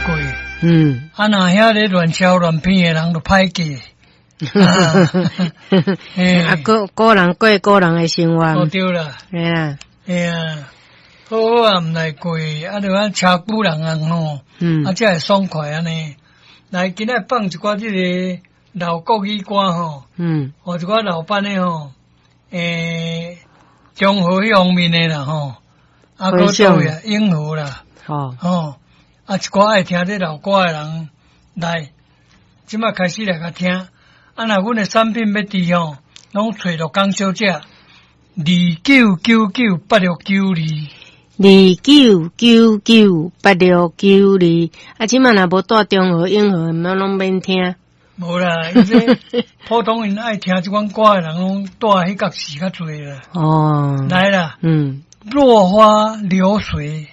過。啊，若遐咧亂抄亂編的人就歹過。啊，個個人過個人的生活。哦，對啦。嘿啊。嘿啊，好好啊，毋來過，啊，就按車久人啊吼，啊，才會爽快按呢。來，今仔放一寡這个老國語歌吼，予一寡老版的吼，中和彼方面的啦吼，啊，閣佗位啊，永和啦，吼，啊，一寡愛聽這老歌的人來，這擺開始來共聽。啊，若阮的產品欲佇吼，攏揣陸江小姐，29998692。29998692。啊，這擺若無蹛中和、永和，毋攏免聽。無啦，伊這普通人愛聽這款歌的人，攏蹛彼角市較濟啦。來啦，落花流水。